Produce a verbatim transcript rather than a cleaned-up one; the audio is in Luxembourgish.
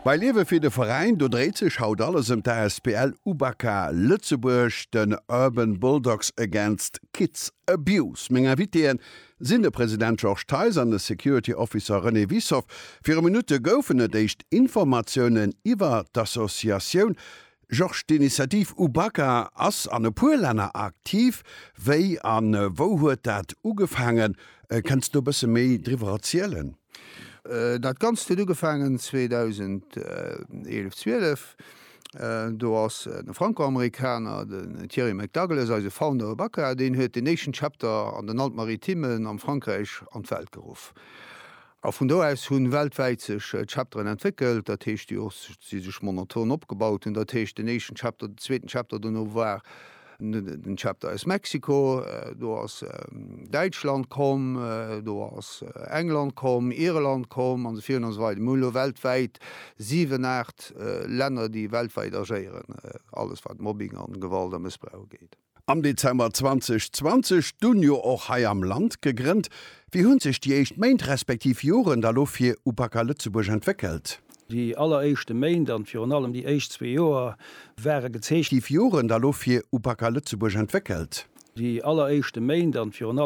Bei Liewe fir de Veräin, do dréit sech haut alles ëm d'A S B L Ubaka Lëtzebuerg, den Urban Bulldogs Against Kids Abuse. Meng Invitéen sinn de President Georges Theis an de Security Officer René Wissoff. Viru Minutte goufen et éischt Informatiounen iwwer d'Associatioun. Georges, d'Initiativ Ubaka ass an e puer Länner aktiv. Wéi an wou huet dat ugefaangen? Kënns du e bësse méi driwwer erzielen? Dat Ganzt huet ugefaangen zweedausendeelef, zwielef. Do ass de Franco-Amerikaner, den Thierry McDouglas, eise Founder Ubaka, deen huet den éischten Chapter an den Alpes-Maritimes am Frankräich an d'Welt geruff. A vun do aus hunn weltwäit sech Chapteren entwéckelt, dat heescht, déi och si sech monoton opgebaut hunn. Dat heescht, den éischten Chapter, den zweeten Chapter, dono war den Chapter aus Mexiko, do ass Däitschland komm, do ass England komm, Irland komm an esou virun an esou weider. Mir hunn elo weltwäit siwen, aacht Länner, déi weltwäit agéieren, alles wat Mobbing an Gewalt a Mëssbrauch ugeet. Am Dezember zweedausendzwanzeg dunn jo och hei am Land gegrënnt. Wéi hunn sech déi éischt Méint respektiv Joren da lo fir Ubaka Lëtzebuerg entwéckelt? Déi alleréischte Méint an virun allem déi éischt zwee Joer ware gezeechent. Joren da lo fir Ubaka Lëtzebuerg entwéckelt? Déi alleréischte Méint an virun